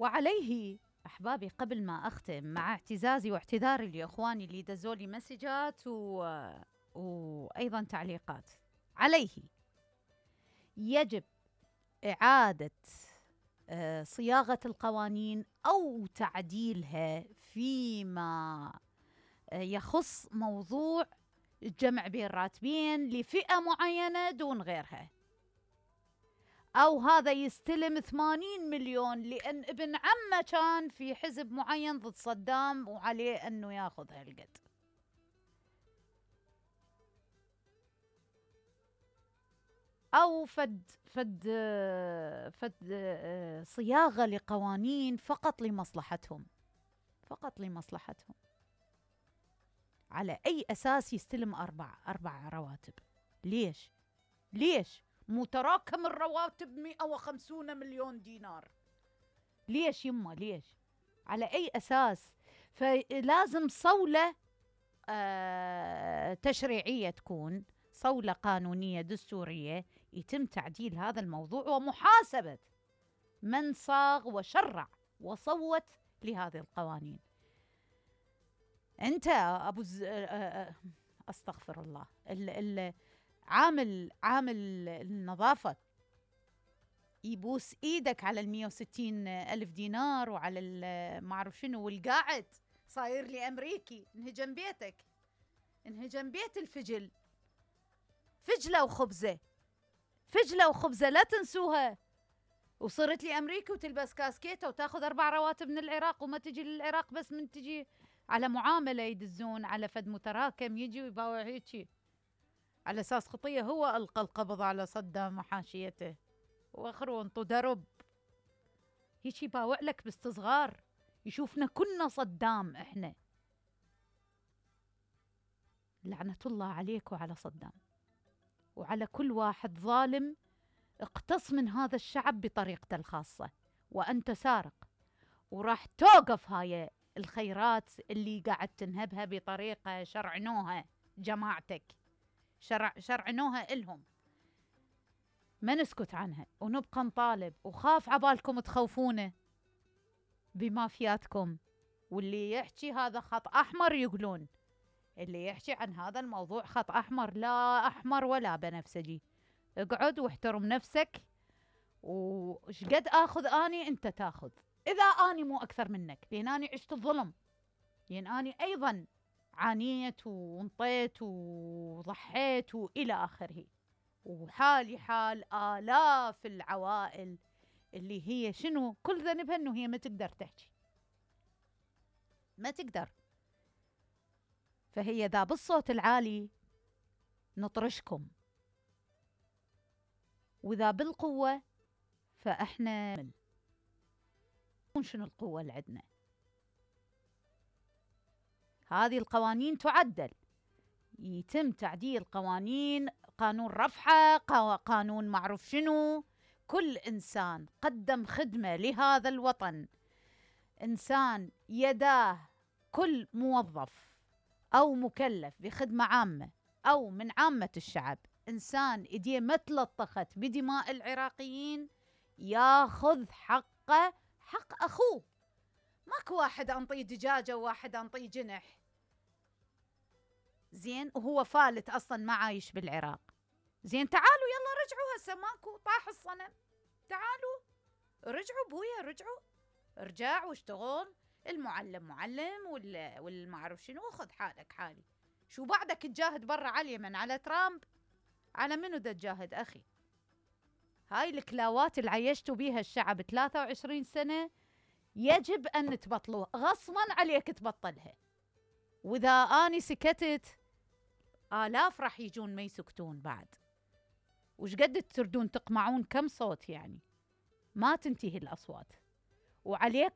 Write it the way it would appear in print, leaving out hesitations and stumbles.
وعليه أحبابي قبل ما أختم مع اعتزازي واعتذاري لإخواني اللي دزولي مسجات وأيضا تعليقات، عليه يجب إعادة صياغة القوانين أو تعديلها فيما يخص موضوع الجمع بين راتبين لفئة معينة دون غيرها، أو هذا يستلم 80 مليون لأن ابن عمه كان في حزب معين ضد صدام وعليه أنه ياخذ هالقد. أو فد صياغة لقوانين فقط لمصلحتهم، فقط لمصلحتهم. على أي أساس يستلم أربع رواتب؟ ليش؟ متراكم الرواتب 150 مليون دينار. ليش يمه؟ ليش؟ على أي أساس؟ فلازم صولة تشريعية تكون، صولة قانونية دستورية، يتم تعديل هذا الموضوع ومحاسبة من صاغ وشرع وصوت لهذه القوانين. أنت أبو أستغفر الله، عامل النظافة يبوس إيدك على 160 ألف دينار وعلى ما أعرف شنو، والقاعد صاير لي أمريكي، انهجم بيتك، انهجم بيت الفجل، فجلة وخبزة لا تنسوها. وصرت لي أمريكي وتلبس كاسكيتة وتاخذ 4 رواتب من العراق، وما تجي للعراق بس من تجي على معاملة يدزون على فد متراكم، يجي ويباوع هيجي على أساس خطية. هو ألقى القبض على صدام وحاشيته وآخره انطو درب، هيجي يباوع لك باستصغار، يشوفنا كنا صدام إحنا. لعنة الله عليك وعلى صدام وعلى كل واحد ظالم اقتص من هذا الشعب بطريقته الخاصة، وأنت سارق، وراح توقف هاي الخيرات اللي قاعد تنهبها بطريقة شرعنوها جماعتك، شرعنوها إلهم. ما نسكت عنها ونبقى نطالب، وخاف عبالكم تخوفونه بمافياتكم، واللي يحكي هذا خط أحمر يقولون، اللي يحكي عن هذا الموضوع خط أحمر، لا أحمر ولا بنفسجي. اقعد واحترم نفسك، وش قد آخذ أني أنت تاخذ، إذا أني مو أكثر منك، لأن أني عشت الظلم، لأن أني أيضا عانيت وانطيت وضحيت وإلى آخره، وحالي حال آلاف العوائل اللي هي شنو كل ذنبها إنه هي ما تقدر تحكي، ما تقدر. فهي ذا بالصوت العالي نطرشكم، وإذا بالقوة فإحنا شنو القوة اللي عندنا. هذه القوانين تعدل، يتم تعديل قوانين، قانون رفحة، قانون معروف شنو. كل إنسان قدم خدمة لهذا الوطن، إنسان يداه، كل موظف أو مكلف بخدمة عامة أو من عامة الشعب، إنسان إيديه ما تلطخت بدماء العراقيين، ياخذ حقه، حق أخوه. ماكو واحد أنطيه دجاجة وواحد أنطيه جنح، زين، وهو فالت أصلا ما عايش بالعراق. زين تعالوا يلا رجعوا، هسه ماكو، طاح الصنم، تعالوا رجعوا بويا، رجعوا ارجع واشتغل، المعلم معلم والمعرف شنو، خذ حالك حالي. شو بعدك تجاهد برا على اليمن، على ترامب، على منو دا تجاهد أخي؟ هاي الكلاوات اللي عيشتوا بيها الشعب 23 سنة يجب أن تبطلوها، غصبا عليك تبطلها. وإذا أني سكتت آلاف راح يجون ما يسكتون بعد. وش قد تردون تقمعون كم صوت يعني؟ ما تنتهي الأصوات. وعليك